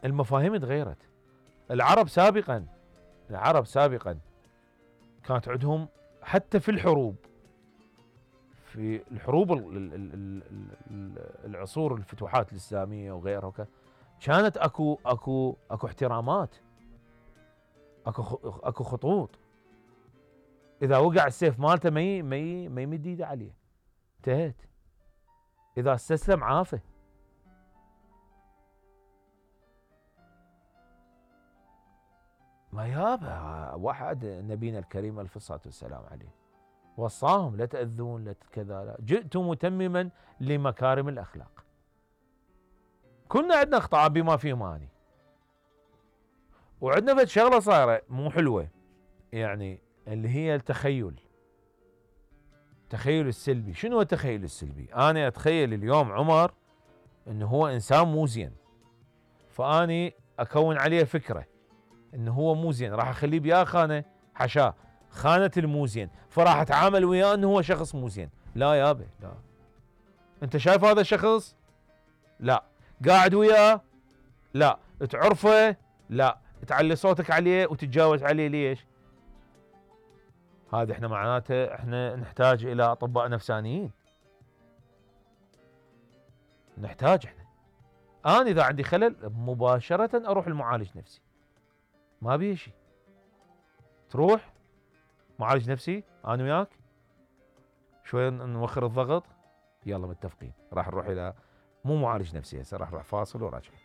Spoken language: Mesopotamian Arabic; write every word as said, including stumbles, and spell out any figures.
المفاهيم تغيرت. العرب سابقا العرب سابقا كانت عندهم حتى في الحروب، في الحروب العصور الفتوحات الاسلاميه وغيرها، كانت اكو اكو اكو احترامات، اكو اكو خطوط. اذا وقع السيف مالته ما ما ما يمد ايده عليه، انتهت. اذا استسلم عافه. ما يابا واحد نبينا الكريم الف الصلاه والسلام عليه وصاهم لا تاذون لا كذا، لا جئت متمما لمكارم الاخلاق. كنا عندنا اخطاء بما فيه ماني، وعندنا فد شغله صايره مو حلوه، يعني اللي هي التخيل. التخيل السلبي. شنو التخيل السلبي؟ انا اتخيل اليوم عمر انه هو انسان مو زين، فاني اكون عليه فكره انه هو مو زين، راح اخليه بيا خانه حشاه، خانه المو زين، فراح اتعامل وياه انه هو شخص مو زين. لا يابا لا. انت شايف هذا الشخص؟ لا. قاعد وياه؟ لا. تعرفه؟ لا. تعلي صوتك عليه وتتجاوز عليه ليش؟ هذا احنا معناته احنا نحتاج الى اطباء نفسانيين. نحتاج احنا. انا اذا عندي خلل مباشرة اروح المعالج نفسي. ما بيه شيء. تروح معالج نفسي انا وياك شوي نوخر الضغط، يلا متفقين راح نروح الى مو معالج نفسي هسه، راح نروح فاصل وراجعين.